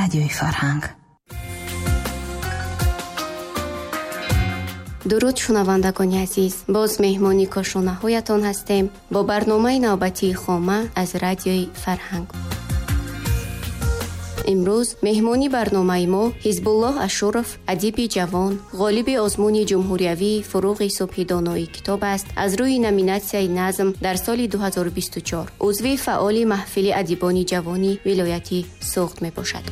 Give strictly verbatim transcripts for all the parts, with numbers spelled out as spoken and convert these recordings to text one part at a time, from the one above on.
Радиои Фарҳанг. Дуруд, шунавандагони азиз, боз меҳмони кошонаҳоятон ҳастем бо барномаи навбатии Хома аз Радиои Фарҳанг. Имрӯз меҳмони барномаи мо Ҳизбуллоҳ Ашуров, адиби ҷавон, ғолиби озмуни ҷумҳуриявии Фуруғи субҳи донои китоб аст аз рӯи номинатсияи назм дар соли ду ҳазору бисту чор, узви фаъоли маҳфили адибони ҷавони вилояти Суғд мебошад.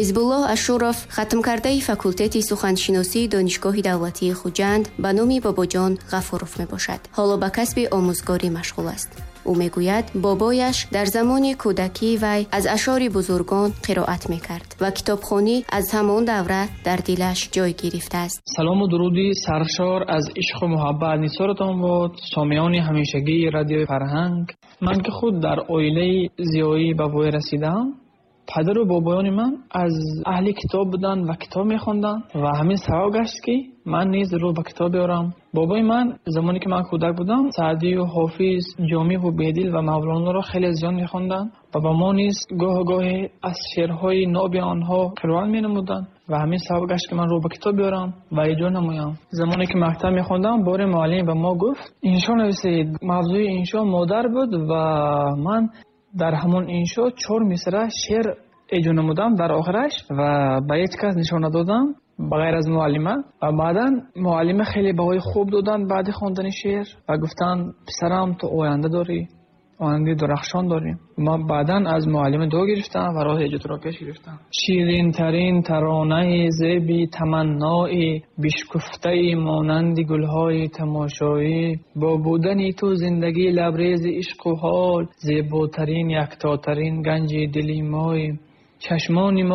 Ҳизбуллоҳ Ашуров хатмкардаи факултети суханшиносии Донишгоҳи давлатии Хуҷанд ба номи Бобоҷон Ғафуров мебошад. Ҳоло ба касби омӯзгорӣ машғул аст. Ӯ мегӯяд, бобояш дар замони кӯдакии вай аз ашъори бузургон қироат мекард ва китобхонӣ аз ҳамон давра дар дилаш ҷой гирифтааст. Салому дуруди саршор аз ишқу муҳаббат нисоратон бод, сомиёни ҳамешагии Радиои Фарҳанг. Ман ки худ дар оилаи зиёӣ ба воя расидаам, падару бобоёни ман аз аҳли китоб буданд ва китоб мехонданд ва ҳамин сабаб гашт, ки ман низ рӯ ба китоб биёрам. Бобои ман замоне ки ман кӯдак будам, Саъдию Ҳофиз, Ҷомиву Бедил ва Мавлоноро хеле зиёд мехонданд ва ба мо низ гоҳ-гоҳе аз шеърҳои ноби онҳо қироат менамуданд ва ҳамин сабаб гашт, ки ман рӯ ба китоб биёрам ва эҷод намоям. Замоне ки мактаб мехондам, боре муаллим ба мо гуфт: иншо нависед. Мавзӯи иншо модар буд ва ман дар ҳамон иншо чор мисра шеър эҷод намудам дар охираш ва ба ҳеҷ кас нишон надодам ба ғайр аз муаллима. Ва баъдан муаллима хеле баҳои хуб доданд баъди хондани шеър ва гуфтанд: писарам, ту оянда дорӣ, ояндаи дурахшон дорӣ. Ман баъдан аз муаллима дуо гирифтам ва роҳи эҷодро пеш гирифтам. Ширинтарин таронаи зеби таманнои бишкуфтаи монанди гулҳои тамошоӣ, бо будани ту зиндагӣ лабрези ишқу ҳол, зеботарин яктотарин ганҷи дили мои, чашмони мо